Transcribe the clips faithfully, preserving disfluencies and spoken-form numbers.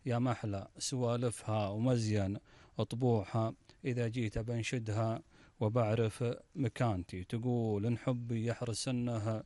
يا محلى سوالفها ومزين طبوعها، إذا جيت بنشدها وبعرف مكانتي. تقول إن حبي يحرسنها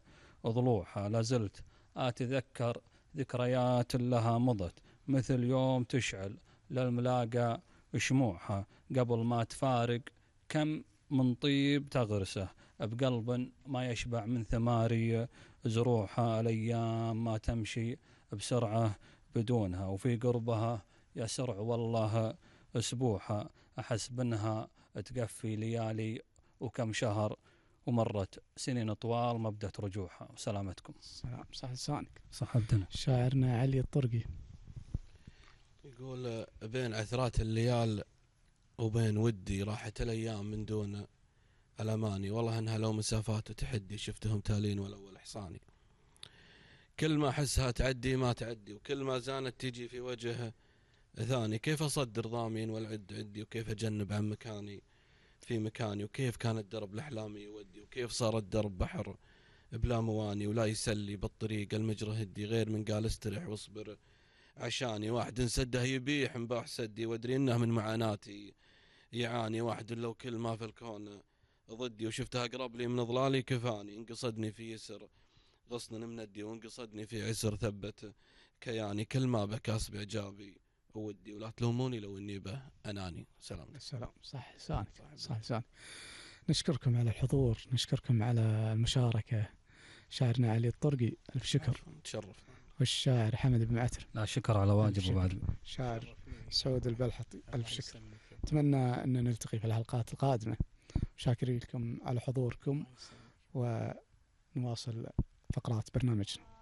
ضلوعها، لازلت أتذكر ذكريات لها مضت، مثل يوم تشعل للملاقى شموعها. قبل ما تفارق كم من طيب تغرسه بقلب ما يشبع من ثماري زروعها. الأيام ما تمشي بسرعة بدونها، وفي قربها يسرع والله أسبوعها. أحس بأنها تقفي ليالي وكم شهر، ومرت سنين طوال ما بدأت رجوعها. وسلامتكم. سلام، صح لسانك. صح بدنا. شاعرنا علي الطرقي يقول بين عثرات الليال وبين ودي راحت الأيام من دون الأماني، والله إنها لو مسافات وتحدي شفتهم تالين والأول حصاني. كل ما أحسها تعدي ما تعدي، وكل ما زانت تجي في وجه ثاني. كيف أصدر ضامين والعد عدي، وكيف أجنب عن مكاني في مكاني، وكيف كان الدرب لأحلامي يودي، وكيف صار الدرب بحر بلا مواني ولا يسلي بالطريق المجرى هدي، غير من قال استرح واصبر عشاني. واحد سده يبيح مباح سدي، وادري انه من معاناتي يعاني. واحد لو كل ما في الكون ضدي، وشفتها اقرب لي من ظلالي كفاني. انقصدني في يسر غصن مندي، وانقصدني في عسر ثبت كياني. كل ما بكاس بعجابي ودي، ولا تلوموني لو اني به اناني. سلام. السلام، صح لسانك. صح لسانك. نشكركم على الحضور، نشكركم على المشاركة. شاعرنا علي الطرقي ألف شكر. تشرف. والشاعر حمد بن معتر، لا شكر على واجب. وبعد شاعر سعود البلحطي ألف شكر. أتمنى أن نلتقي في الحلقات القادمة. شاكرين لكم على حضوركم، ونواصل فقرات برنامجنا.